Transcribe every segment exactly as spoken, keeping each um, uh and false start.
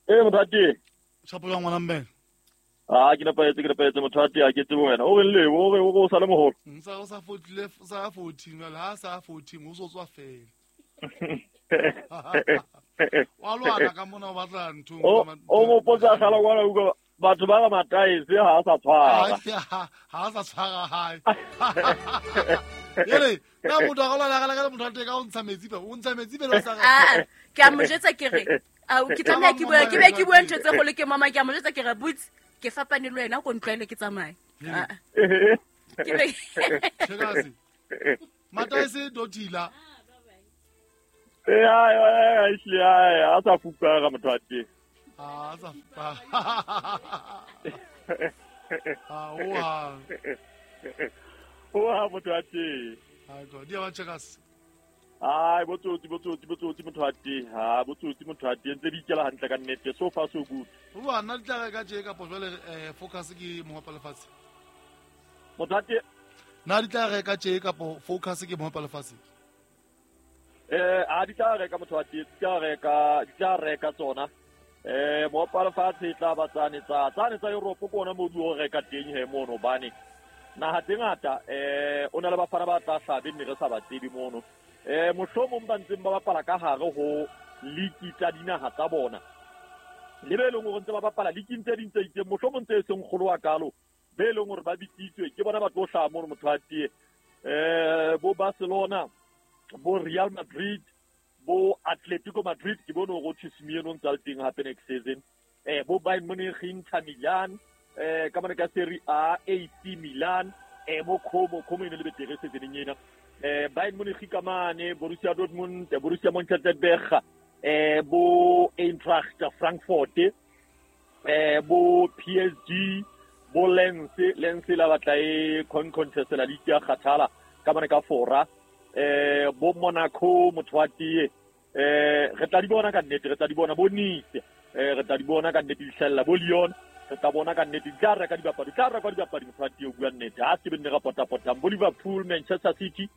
Eh motho wa teng. Shapo jwang ngwana mme? Ah ke nepahetse ke nepahetse motho wa teng a ke tsebe wena. O reng le o re o sa le moholo. Ntsa o sa fotlile sa fourteen jwale ha sa fourteen o so tswa fela. Wa lwana ka mona o batla ntho. O mo potsa gala kwana utlwa batho ba ga mataese ha a sa tshwara. Ha a sa tshwara hae. Ere na motho a lwana ka motho a teng ka o ntsha metsi fa o ntsha metsi pele o sa. Ah ke a mo jetsa ke re a ke tlameha ke bua ke be ke bua ntho tse kgolo ke mama ke a mo jetsa ke re butse ke fapane le wena ko ntlwaele ke tsamaye. Ke be Checkers. Mataese dotila. Eh ai ai ai a sa fupara motho wa teng. Ah sa fupara. Ah oa. Oa motho wa teng. Ai go dia ba Checkers. Ai botsotsi botsotsi botsotsi motho wa teng. Ha botsotsi motho wa teng ntse di ikela hantle ka nnete so far so good. Bua nna di tla ka tje kapo jwale eh focus ke mohopa lefatshe. Motho wa teng na di tla reka tje kapo focus ke mohopa lefatshe. Eh a di tla reka motho wa teng, di tla reka di tla reka tsona. Eh mohopa lefatshe tla ba tsane tsa tsane tsa Europe ke ona mo di o reka teng he mono bane. Naha tse ngata eh o na le bafana ba tla hlabe nne re sa ba tsebe mono. Eh mohlomong ba ntseng ba bapala ka hare ho liki tsa dinaha tsa bona. Le be leng hore ntse ba bapala liking tse ding tse itseng mohlomong tse seng kgolo wa kalo be leng hore ba bitsitswe ke bona ba tlo hlaha mono motho wa teng. Eh bo Barcelona bo Real Madrid bo Atletico Madrid ke bone hore o Simeone o ntse a le teng hape next season. Eh bo Bayern Munich, Inter Milan eh ka mane ka Serie A, A C Milan eh bo Como Como e ne le betere season ena. Eh Bayern Munich ka mane Borussia Dortmund, Borussia Mönchengladbach eh bo Eintracht Frankfurt eh bo P S G bo Lens Lens la batla e con contest la liga ya kgathala ka mane ka Fora eh bo Monaco motho wa tee eh re tla di bona ka nnete re tla di bona bo Nice eh re tla di bona ka nnete di hlella bo Lyon re tla bona ka nnete di tla reka dibapadi tla reka dibapadi motho wa tee o bua nnete ha se be nne ra potapotang bo Liverpool Manchester City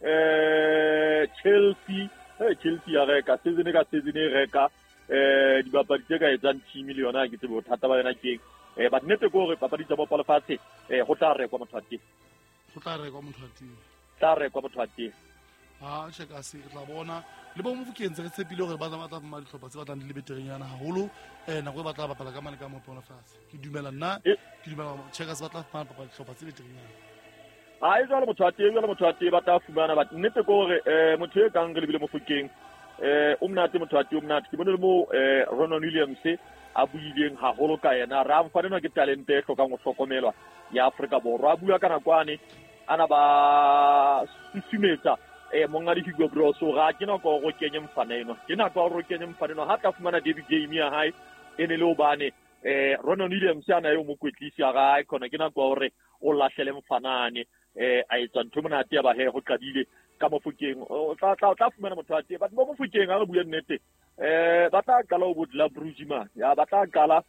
eh Chelsea eh Chelsea ya reka season ka season e reka eh dibapadi tse ka etsang team le yona ke tsebe bothata ba yona keng eh but nnete ke hore papadi tsa bopalo fatshe eh ho tla rekwa motho wa tee ho tla rekwa motho wa tee tla rekwa motho wa tee. Ah Checkers re tla bona le bo Mofokeng re tshepile hore ba tla batla fumana dihlopha tse batlang di le beterenyana haholo eh nako e batla bapala ka mane ka mopono fatshe ke dumela nna ke dumela Checkers ba tla fumana bapala dihlopha tse beterenyana. Ah e jwale motho wa teng jwale motho wa teng ba tla fumana but nnete ke hore eh motho e kang re lebile Mofokeng eh o monate motho wa teng o monate ke bone le mo eh Ronan Williams a buileng haholo ka yena ra mfanenwa ke talente e hlokang ho hlokomelwa ya Afrika Borwa a bua ka nakwane ana ba susumetsa eh mongadi Hugo Broos ga ke nako go kenye mfana eno ke nako go kenye mfana eno ha tla fumana David game ya hae e ne le obane eh Ronan Williams ana yo mokwetlisi ya gae khona ke nako hore o lahlele mfanane eh a etsa ntho monate ya ba he go qadile ka Mofokeng o tla tla tla fumana motho wa teng but mo Mofokeng ha re bua nnete eh ba tla qala ho bodla Brugman ya ba tla qala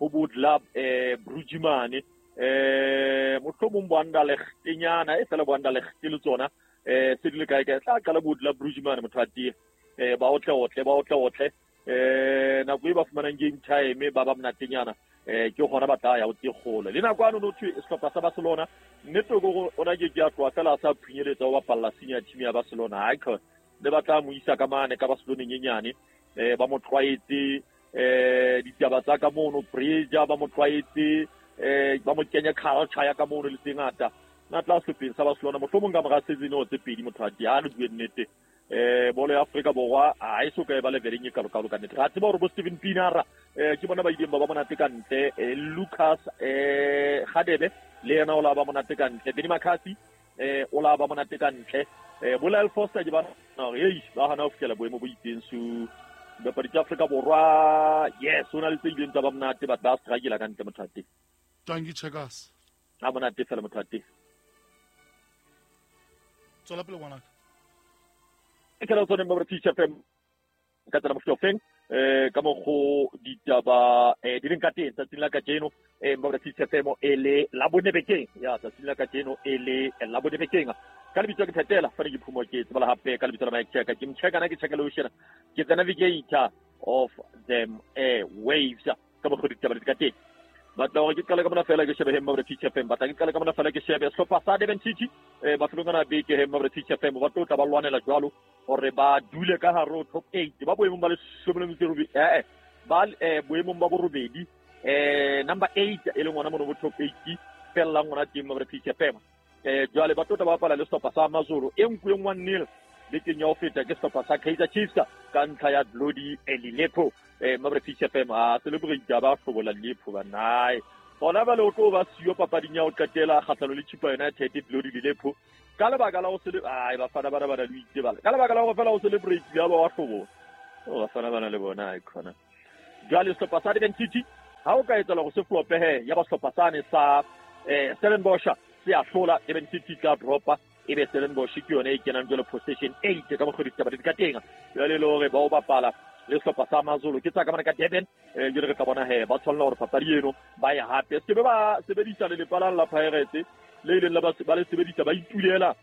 ho bodla eh Brugman eh mohlomong bo Anderlecht-nyana e fela bo Anderlecht le tsona eh se di le kae kae tla qala bodla Brugman motho wa teng eh ba otle otle ba otle otle eh nako e ba fumanang game time ba ba monatenyana eh ke gona ba tla ya o tse kgolo le nako ano no thwe sehlopha sa Barcelona nnete go ona ke ke a tloa fela sa phunyeletsa o bapalla senior team ya Barcelona ha ke le ba tla mo isa ka mane ka Barcelona nyenyane eh ba mo tlwaetse eh ditaba tsa ka mono Breja ba mo tlwaetse eh ba mo kenya culture ya ka mono le tse ngata na tla sehlopheng sa Barcelona mohlomong ka mora season o tse pedi motho a di ha le bue nnete eh bolo ya Afrika Borwa ha e so ka e ba leveleng e kalo kalo ka nnete ra tseba hore bo Steven Pienaar eh ke bona ba ileng ba ba monate ka ntle Lucas eh Gadebe le yena o la ba monate ka ntle Benny McCarthy eh o la ba monate ka ntle eh bo Lyle Foster ke ba hore ei ba hana ho fihlela boemo bo itseng so dibapadi tsa Afrika Borwa yes o na le tse ileng tsa ba monate but ba struggle ka ntle motho wa teng. Thank you Checkers. Ha monate fela motho wa teng. Tswela pele ngwanaka. Ke la tsone mo Teacher F M ka tsena mohlofeng eh ka mokgo ditaba eh di leng ka teng tsatsing la kajeno eh mo Teacher F M e le la bone bekeng ya tsatsing la kajeno e le la bone bekeng ka lebitso ke phetela fa ke phumo ke tsebala hape ka lebitso la Mike Checker ke mcheka na ke check lotion ke the navigator of them airwaves. Ka mokgwa ditaba di ka teng. Batla hore ke qale ka mona fela ke shebe hemma British F M. Batla ke qale ka mona fela ke shebe sehlopha sa Durban City eh mafelong ana beke hemma British F M ba tlo tla ba lwanela jwalo hore ba dule ka hare ho top eight ba boemong ba leshome le metso e robedi eh ba eh boemong ba borobedi eh number eight e leng ona mono bo top eight fellang ona teng British F M eh jwale ba tlo tla ba bapala le sehlopha sa AmaZulu e nkuweng one nil bekeng ya ho feta ke sehlopha sa Kaizer Chiefs ka ntlha ya Glody Lilepo eh British F M a celebrate ba hlobola Lilepo ba nae bona ba le o tlo ba siyo papading ya ho qetela kgahlano le Chippa United Glody Lilepo ka lebaka la ho sele ai bafana bana bana le itse bala ka lebaka la ho fela ho celebrate ya ba wa hlobola o bafana bana le bona ai khona jwale sehlopha sa Durban City ha o ka etsa hore se flope he ya ba sehlopha sane sa eh Stellenbosch se a hlola Durban City tla dropa ebe Stellenbosch ke yone e kenang jwale position eight ka mokgwa ditaba di ka teng jwale le hore ba o bapala le sehlopha sa AmaZulu ke tsa ka mona ka Durban eh jwale re tla bona he ba tshwanela hore papadi eno ba e hape se be ba sebedisa le lepala la Pirates le ileng la ba ba le sebedisa ba itulela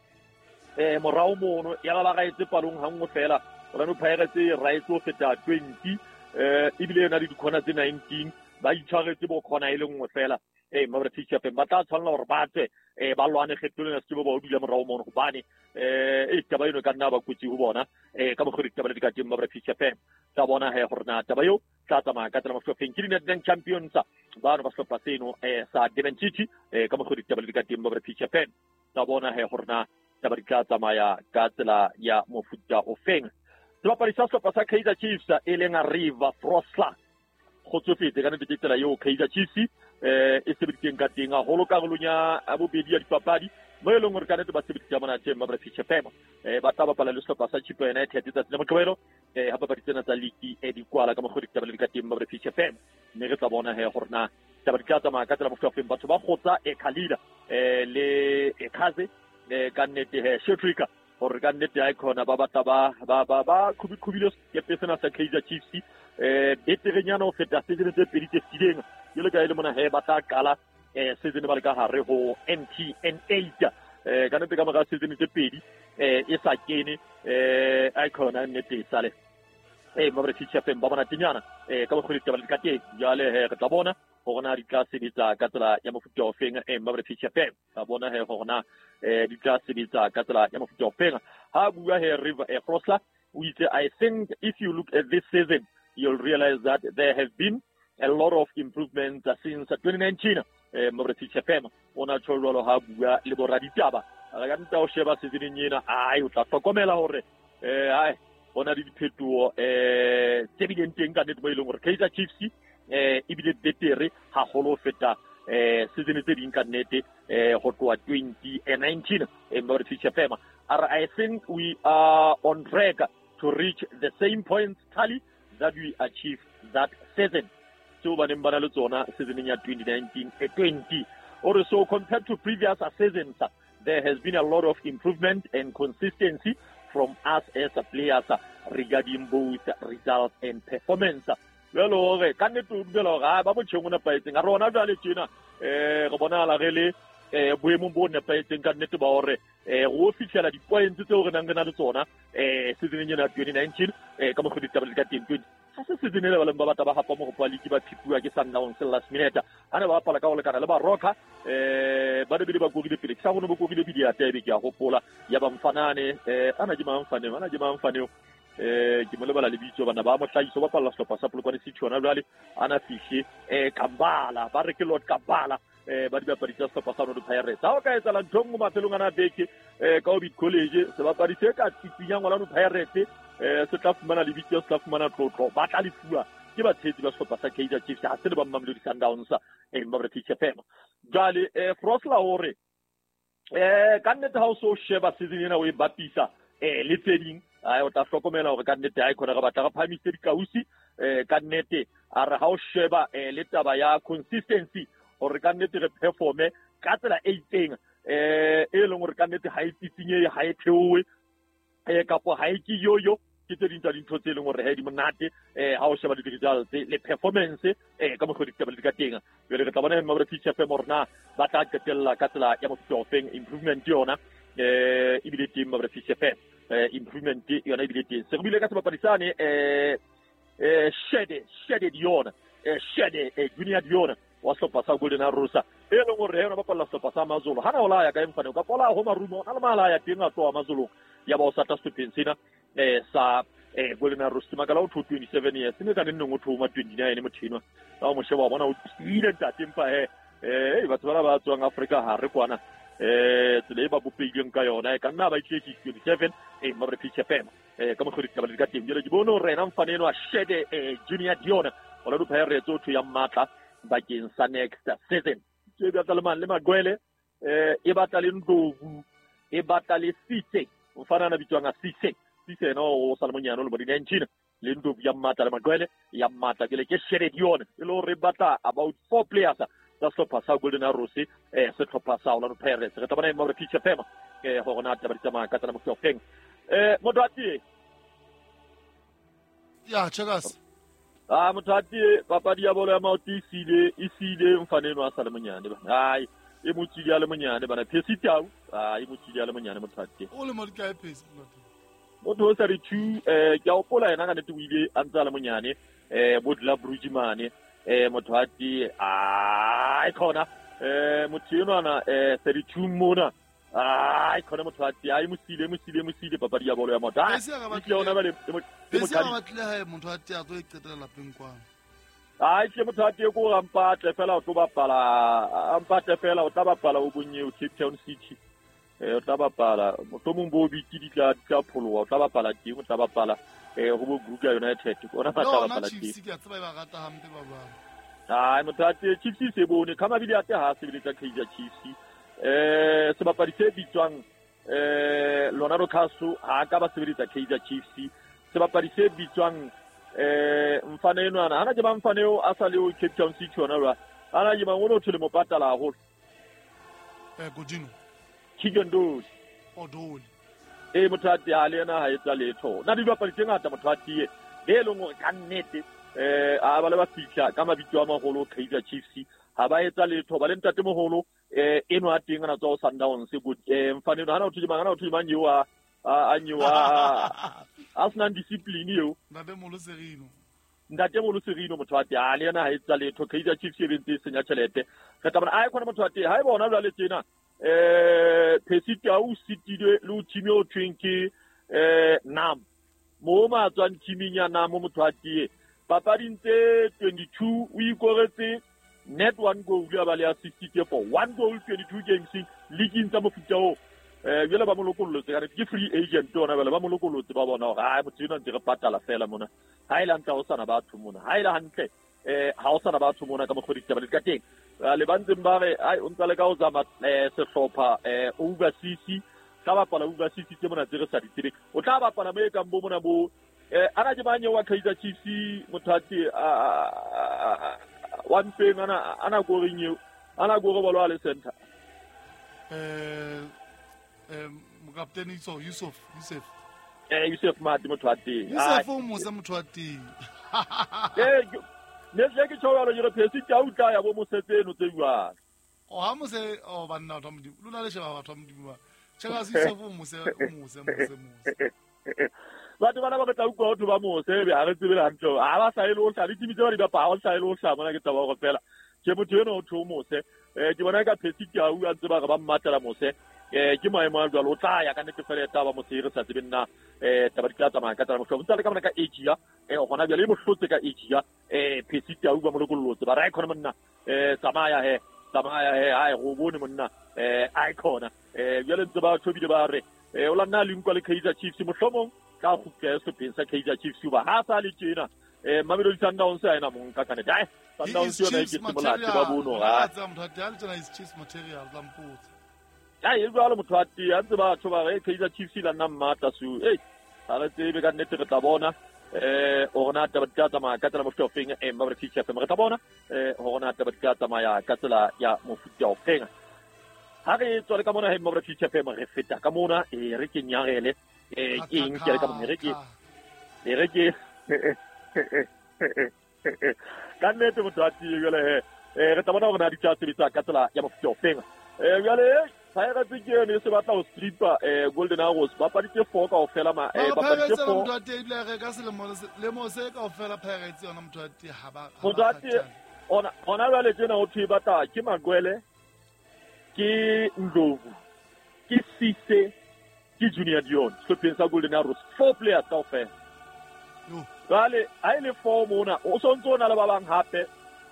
eh morao mono ya ba ba raetse palong ha nngwe fela Orlando Pirates e raetse ho feta twenty eh ebile yona le dikhona tse nineteen ba itshwaretse bo khona e le nngwe fela eh British F M ba tla tshwanela hore ba tswe eh ba lwane kgetholong ya se ba o dula morao mono hobane eh e taba eno ka nna ba kotsi ho bona eh ka mokgwa ditaba di ka teng British F M tla bona he hore na taba eo tla tsamaya ka tsela mafofeng ke di-Nedbank Champions bano ba sehlopha seno eh sa Durban City eh ka mokgwa ditaba di ka teng British F M tla bona he hore na taba di tla tsamaya ka tsela ya mofuta ofeng. Sebapadi sa sehlopha sa Kaizer Chiefs e leng River Frosler kgotsofetse ka nnete ke tsela eo Kaizer Chiefs eh e sebeditseng ka teng haholo karolong ya bobedi ya dipapadi mo e leng hore ka nnete ba sebeditse monate British F M eh ba tla bapala le sehlopha sa Chippa United tsatsi la Moqebelo eh ha papadi tsena tsa league e di kwala ka mokgwa ditaba di ka teng British F M mme re tla bona he hore na taba di tla tsamaya ka tsela mofuta ofeng. Batho ba kgotsa e Khalida eh le e Khaze eh ka nnete he Shetrika hore ka nnete ha e khona ba batla ba ba ba ba khubile sekepe sena sa Kaizer Chiefs eh beterenyana ho feta season tse pedi tse fetileng jwalo ka e le mona he ba tla qala eh season ba le ka hare ho M T N eight eh ka nnete ka mora season tse pedi eh e sa kene eh a khona nnete e sale eh British F M ba bona tinyana eh ka mokgwa ditaba di ka teng jwale he re tla bona hore na di tla sebetsa ka tsela ya mofuta ofeng eh British F M tla bona he hore na eh di tla sebetsa ka tsela ya mofuta ofeng. Ha bua he River eh Frosler o itse I think if you look at this season you'll realize that there have been a lot of improvements since twenty nineteen eh British F M ona tjho jwalo ha bua le boraditaba re ka nta o sheba season ena ai o tla hlokomela hore eh ai bona di diphetoho eh tse bileng teng ka nnete mo e leng hore Kaizer Chiefs eh ebile betere haholo ho feta eh season tse ding ka nnete eh ho tloha twenty nineteen eh British F M I think we are on track to reach the same points tally that we achieved that season. So ba neng ba na le tsona season ya twenty nineteen twenty. Or so compared to previous seasons, there has been a lot of improvement and consistency from us as players regarding both results and performance. Jwale hore ka nnete o dumela hore ba motjheng o nepahetseng a rona jwale tjena eh re bonahala re le eh boemong bo nepahetseng ka nnete ba hore eh ro fihlela di-points tseo re nang re na le tsona eh season ena ya twenty nineteen eh ka mokgwa ditaba di ka teng twenty ha se season ele ba leng ba batla ba hapa mohopo wa league ba phipuwa ke Sundowns last minute ha ne ba bapala ka ho lekana le ba Rocker eh ba ne bile ba korile pele ke sa rona ba korile pele ya tebe ke a hopola ya ba mfanane eh ana ke mang mfaneo ana ke mang mfaneo eh ke mo lebala lebitso bana ba mohlahiso ba palla sehlopha sa Polokwane City hona jwale ana fihle eh Kambala ba re ke Lord Kambala eh ba dibapadi tsa sehlopha sa Orlando Pirates ha o ka etsahala ntho nngwe mafelong ana beke eh ka Orbit College sebapadi se ka tsitsinyang Orlando Pirates eh se tla fumana lebitso se tla fumana tlotlo ba tla lefuwa ke batshehetsi ba sehlopha sa Kaizer Chiefs ha se le ba Mamelodi Sundowns eh British F M jwale eh Frosler hore eh ka nnete ha o so sheba season ena o e bapisa eh le tse ding ai o tla hlokomela hore ka nnete ha e khona re batla re phahamise dikausi eh ka nnete a re ha o sheba eh le taba ya consistency hore ka nnete re performe ka tsela e itseng eh e leng hore ka nnete ha e tsitsinye ha e theowe eh kapo ha e ke yoyo ke tse ding tsa dintho tse leng hore ha di monate eh ha o sheba di-results le performance eh ka mokgwa ditaba di ka teng jwale re tla bona hore British F M hore na ba tla qetella ka tsela ya mofuta ofeng improvement yona eh ebile teng British F M eh improvement yona ebile teng se re buile ka sebapadi sane eh eh Shede Shede Dion eh Shede eh Junior Dion wa sehlopha sa Golden Arrows e leng hore yena bapalla sehlopha sa Amazulu hana o la ya ka mfane ka pola ho marumo na le mala ya teng a tloha Amazulu ya ba o sata sehlopheng sena eh sa eh Golden Arrows makala o twenty-seven years ne ka neng o thoma twenty-nine motho enwa ka o mo sheba bona o tiile ntate empa he eh batho bana ba tswang Afrika ha re kwana eh tsela e ba bopehileng ka yona e ka nna ba itletse twenty-seven eh mabre P F M eh ka mokgwa ditaba di ka teng jwale ke bone hore yena mfane enwa Shede eh Junior Dion Orlando Pirates o ya matla bakeng sa next season tse batla le mang le Magwele eh e batla le Ndlovu e batla le Sitse mfana na bitswang a Sitse Sitse no o sa le monyane o le bo di-nineteen le Ndlovu ya matla le Magwele ya matla ke le ke Shede Dion e le hore batla about four players tsa sehlopha sa Golden Arrows eh sehlopha sa Orlando Pirates re tla bona mo re P F M eh hore na taba di tsamaya ka tsela mofuta ofeng eh motho a tie ya checkers ah motho a tie papadi ya bolo ya maoto e sile e sile mfane eno a sa le monyane bana ai e mo tsile a le monyane bana Phesi Tau ah e mo tsile a le monyane motho a tie o le mo di kae Phesi motho o thirty-two eh ke a hopola yena ka nnete o ile a ntse a le monyane eh bo dla Bruji mane eh motho a tie ai khona eh motho enwana eh thirty-two mona ai khona motho a tie ai mo sile mo sile mo sile papadi ya bolo ya maoto ai ke ona ba le Phesi a batle hae motho a tie a tlo iqetela lapeng kwana ai ke motho a tie ko ra mpatle fela o tlo bapala a mpatle fela o tla bapala o bonye o Cape Town City eh o tla bapala mohlomong bo bitse di tla tla pholoha o tla bapala teng o tla bapala eh ho bo Kruger United ona ba tla bapala teng Chiefs ke a tseba ba rata hampe ba bang ai motho a tie Chiefs se bone ka mabili a te ha sebeletsa Kaizer Chiefs eh sebapadi se bitswang eh Leonardo Castro ha ka ba sebeletsa Kaizer Chiefs sebapadi se bitswang eh mfane enwana hana ke ba mfane o a sa le o Cape Town City ona ba ana ke ba ngone o thole mo patala haholo eh Godino Kigondoli Odoli e motho a tie a le yena ha etsa letho na di bapadi tse ngata motho a tie be leng hore ka nnete eh a ba le ba fihla ka mabitso a maholo Kaizer Chiefs ha ba etsa letho ba le ntate moholo eh eno a teng ana tswa o Sundowns eh mfane eno hana o thule mang hana o thule mang eo a a nyewa a sena discipline eo ntate Molo Serino ntate Molo Serino motho a tie a le yena ha etsa letho Kaizer Chiefs e bentse e senya tjhelete re tla bona ai khona motho a tie ha e bona jwale tjena eh Phesi Tau sitile le o team o thweng ke eh Nam mo ma tswang teaming ya Nam motho a tie papading tse twenty-two o ikoretse net one goal ya ba le assist for one goal twenty-two games league tsa mofuta o eh jwale ba mo lokollotse ka re ke free agent ona bale ba mo lokollotse ba bona hore ai motho ena ntse re patala fela mona ha ile hantle ho sana batho mona ha ile hantle eh ha o sana batho mona ka mokgwa ditaba di ka teng le ba ntseng ba re ai o ntsa le ka o zama sehlopha eh overseas tla bapala overseas tse mona tse re sa di tsebeng o tla bapala mo e kang bo mona bo eh ana ke banye wa Kaizer Chiefs motho a tie wa mpeng ana ana go reng eo ana go re bolo a le center eh eh mokaptene Yusuf Yusuf Yusuf eh Yusuf Mati motho a teng Yusuf o mose motho a teng eh ne se ke tjho jalo ke re Phesi Tau tla ya bo mosetse eno tse jwang o ha mose o banna batho ba Modimo lona le sheba batho ba Modimo ba cheka Yusuf o mose o mose mose mose batho bana ba tla utlwa batho ba mose be ha re tsebe hantle ha ba sa ile o hla ditimi tse ba di bapala ha o sa ile o hla mona ke taba hore fela ke motho eno o tho mose eh ke bona ka Phesi Tau a ntse ba re ba mmatela mose eh ke maemo a jwalo o tla ya ka nnete fela taba mose re sa tsebe nna eh taba di tla tsamaya ka tsela mohlomong ntse le ka mona ka Asia eh hona jwale e mohlotse ka Asia eh Phesi Tau ba mo lokollotse ba ra khona monna eh tsamaya he tsamaya he ai go bone monna eh ai khona eh jwale ntse ba thobile ba re eh o la nna le nkwa le Kaizer Chiefs mohlomong ka kgutla sehlopheng sa Kaizer Chiefs ba ha sa le tjena eh Mamelodi Sundowns a ena mong ka kanete ai Sundowns yona e ke molate ba bono ha tsa motho a tie le is Chiefs material tla mpotsa ai e jwalo motho a tie a ntse batho ba re Kaizer Chiefs la nna mmatla su ei ha re tsebe ka nnete re tla bona eh hore na taba di tla tsamaya ka tsela mofuta ofeng eh mabra P F M re tla bona eh hore na taba di tla tsamaya ka tsela ya mofuta ofeng ha re tswa le ka mona he mabra P F M re feta ka mona eh re ke nyarele eh ke eng ke le ka mona re ke re ke ka nnete motho a tie jwale he eh re tla bona hore na di tla sebetsa ka tsela ya mofuta ofeng eh jwale Pirates ke yone e se batla ho strippa eh Golden Arrows bapadi tse four kaofela ma eh bapadi tse four motho wa teng ebile re ka selemo lemo se kaofela Pirates yona motho wa teng ha ba motho wa teng ona ona jwale tjena ho thwe batla ke Magwele ke Ndlovu ke Sise ke Junior Dion sehlopheng sa Golden Arrows four players kaofela. Jwale ha e le four mona o sontso o na le ba bang hape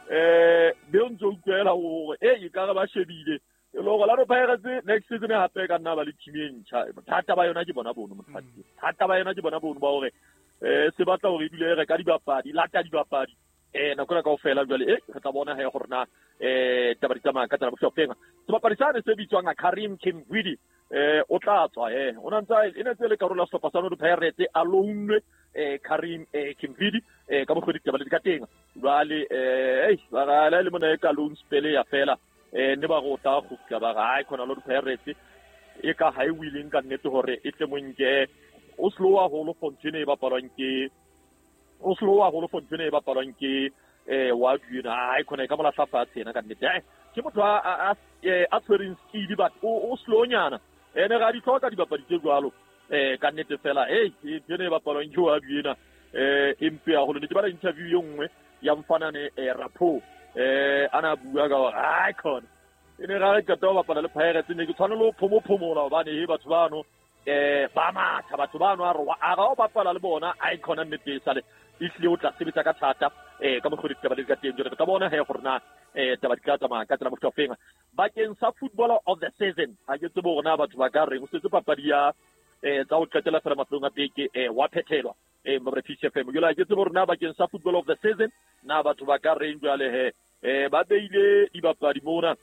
eh be o ntso utlwela hore e e ka re ba shebile e le hore Orlando Pirates next season hape ka nna ba le team e ntjha. Bothata ba yona ke bona bono motho thata ba yona ke bona bono ba hore eh se batla hore e dule e reka dibapadi lata dibapadi eh nako ena kaofela jwale e re tla bona he hore na eh taba di tsamaya ka tsela bohlokwa. Sebapadi sane se bitswang Karim Kimwidi eh o tla tswa eh o na ntse e ne tse le karolo ya sehlopha sa Orlando Pirates a loanwe eh Karim eh Kimwidi eh ka mokgwa ditaba le di ka teng jwale eh ba ga le mona e ka loan spell ya fela eh ne ba go tla go fika ba ga ai khona Orlando Pirates e ka ha e willing ka nnete hore e tle monke o slow haholo fontsene e bapalwang ke o slow haholo fontsene e bapalwang ke eh wa dina ai khona e ka mola fatshe ena ka nnete eh ke motho a a tshwereng speed but o slow nyana ene ga di tlhoka dibapadi tse jwalo eh ka nnete fela hey tsene e bapalwang ke wa dina eh empe haholo ne ke bala interview e nngwe ya mfanane eh Rapo eh ana bua ka hore ai khona e ne ga re qeta ho bapala le Pirates ne ke tshwanela ho phomophomola hobane he batho bano eh ba matha batho bano a re a ga o bapala le bona ai khona nnete e sale e hlile o tla sebetsa ka thata eh ka mokgwa ditaba di ka teng jwale re tla bona he gore na eh taba di tla tsamaya ka tsela mofuta ofeng. Bakeng sa footballer of the season ha ke tsebe hore na batho ba ka reng o setse papadi ya eh tsa ho qetela fela mafelong a beke eh wa phethelwa eh Mmabre Fish F M jwale ha ke tsebe hore na bakeng sa footballer of the season na batho ba ka reng jwale he eh ba beile dibapadi mona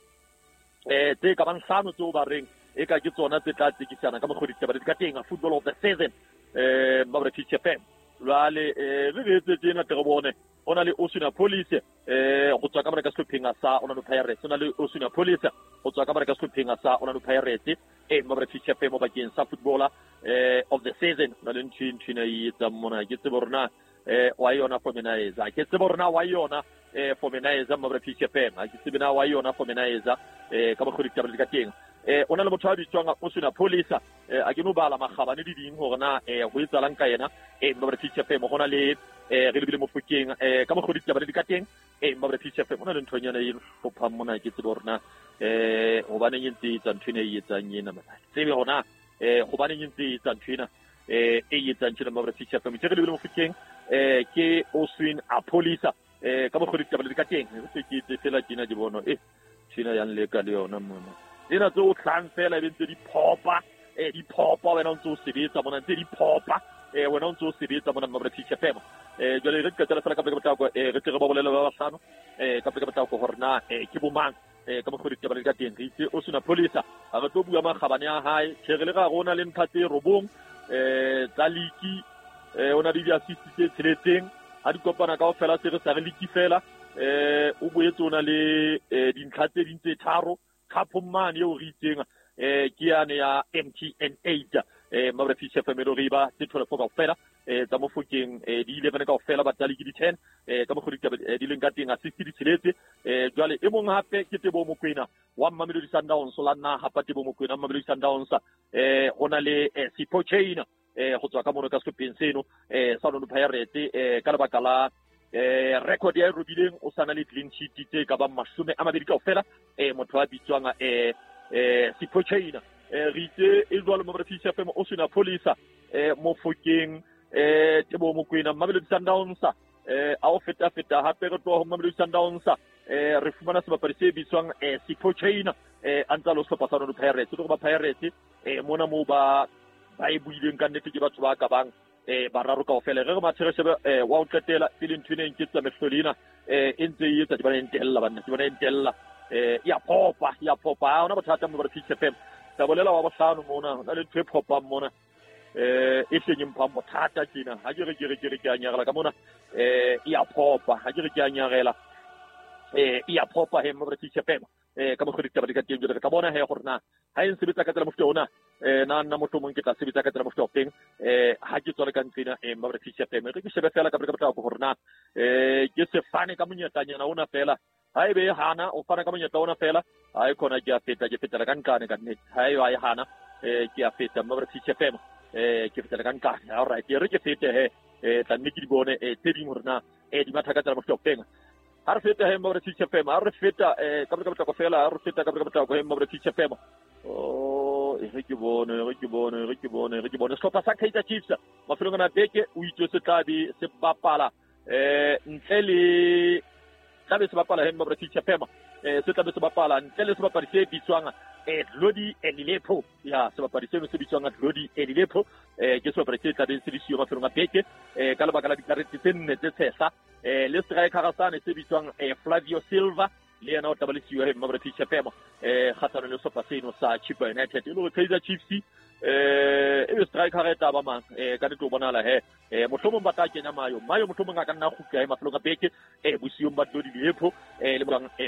eh tse ka bang hlano tseo ba reng e ka ke tsona tse tla tsekisana ka mokgwa ditaba di ka teng footballer of the season eh Mmabre Fish F M jwale eh re re etse tjena tle re bone o na le Osuna Police eh go tswa ka mona ka sehlopheng sa Orlando Pirates o na le Osuna Police go tswa ka mona ka sehlopheng sa Orlando Pirates eh Mmabre Fish F M bakeng sa footballer eh of the season na le ntho ntho ena e etsang mona ke tsebe hore na eh wa yona for mina etsa ke tsebe hore na wa yona eh for mina etsa Mmabre Fish F M ha ke tsebe na wa yona for mina etsa eh ka mokgwa ditaba di ka teng eh o na le motho a bitswang Osuna Police eh a ke no bala magabane di ding hore na eh ho etsalang ka yena eh Mmabre Fish F M ho na le eh re lebile Mofokeng eh ka mokgwa ditaba di ka teng eh Mmabre Fish F M ho na le nthonyana e hlophang mona ke tsebe hore na eh hobaneng e ntse e etsa ntho ena e etsang ena mona tsebe hore eh hobaneng e ntse e etsa ntho ena eh e etsang tjena Mmabre Fish F M ke re lebile Mofokeng eh ke Oswin Apolisa eh ka mokgwa ditaba di ka teng re se ke itse fela tjena di bono eh tjena yang leka le yona mona tsena tse o tlang fela e be ntse di phopa eh di phopa wena o ntse o sebetsa mona ntse di phopa eh wena o ntse o sebetsa mona Mmabre Fish F M eh jwale re qetela fela ka pele ka potlako eh re tle re ba bolele ba bahlano eh ka pele ka potlako hore na eh ke bomang eh ka mokgwa ditaba di ka teng re itse Osuna Police ha re tlo bua makgabane a hae tjhe re le ga rona le ntlha tse robong eh tsa liki eh o na le di-assist tse tsheletseng ha di kopana kaofela se re sa re liki fela eh o boetse o na le dintlha tse ding tse tharo cup mane eo re itseng eh ke yane ya M T N eight eh Mmabre Fish F M re ba tse twelve kaofela eh tsa Mofokeng eh di eleven kaofela ba tsa liki di ten eh ka mokgwa ditaba di leng ka teng assist di tsheletse eh jwale e mong hape ke Teboho Mokoena wa Mamelodi Sundowns la nna hapa Teboho Mokoena Mamelodi Sundowns eh ho na le Sipho Chaine eh go tswa ka mono ka sehlopheng seno eh sa Orlando Pirates eh ka lebaka la eh record ya e robileng o sana le clean sheet tse ka bang mashome a mabedi kaofela eh motho a bitswang eh eh Sipho Chaine eh re itse e jwalo Mmabre Fish F M Osuna Police eh Mofokeng eh Teboho Mokoena Mamelodi Sundowns eh a o feta feta hape re tloha ho Mamelodi Sundowns eh re fumana sebapadi se bitswang eh Sipho Chaine eh a ntsa lo sehlopha sa Orlando Pirates tlo ba Pirates eh mona moo ba ba e buileng ka nnete ke batho ba ka bang eh bararo kaofela re re mathe re shebe eh wa o qetela pele ntho ena e nketsa mehloli ena eh e ntse e etsa ke bona e ntella banna ke bona e ntella eh ya phopa ya phopa ha hona bothata Mmabre Fish F M tla bolela wa bohlano mona ho na le ntho e phopang mona eh e hleng e mphang bothata tjena ha ke re ke re ke re ke a nyarela ka mona eh e ya phopa ha ke re ke a nyarela eh e ya phopa he Mmabre Fish F M eh ka mokgwa ditaba di ka teng jwale re tla bona he gore na ha e nsebetsa ka tsela mofuta ona eh na nna mohlomong ke tla sebetsa ka tsela mofuta o feng eh ha ke tswale ka ntho ena eh Mmabre Fish F M re ke shebe fela ka pele ka potlako gore na eh ke se fane ka monyetlanyana ona fela Ha ebe e hana o fana ka monyetla ona fela ha e khona ke a feta ke fetela ka nqane ka nnete ha e ba e hana eh ke a feta mma British F M eh ke fetela ka nqane. All right, e re ke fete he eh tla nne ke di bone eh tse ding hore na eh di matha ka tsela mohlopeng. Ha re feta he mma British F M, ha re feta eh ka ka potlako fela, ha re feta ka ka potlako he mma British F M. Oh, e re ke bone, e re ke bone, e re ke bone, e re ke bone sehlopha sa Kaizer Chiefs mafelong ana beke o itse se tla be se bapala eh ntle le tla be se bapala he mma British F M eh se tla be se bapala ntle le sebapadi se bitswang eh Glody Elilepo. Ya sebapadi seno se bitswang Glody Elilepo eh ke sebapadi se tla beng se le siyo mafelong a beke eh ka lebaka la dikarete tse nne tse tshehla eh le striker sane se bitswang eh Flavio Silva le yena o tla ba le siyo he mma British F M eh kgatlhanong le sehlopha seno sa Chippa United. E le hore Kaizer Chiefs eh e striker e tla ba mang eh ka nnete o bonahala he eh mohlomong ba tla kenya Mayo Mayo mohlomong a ka nna kgutla he mafelong a beke eh bosiung ba Glody Lilepo eh le bang eh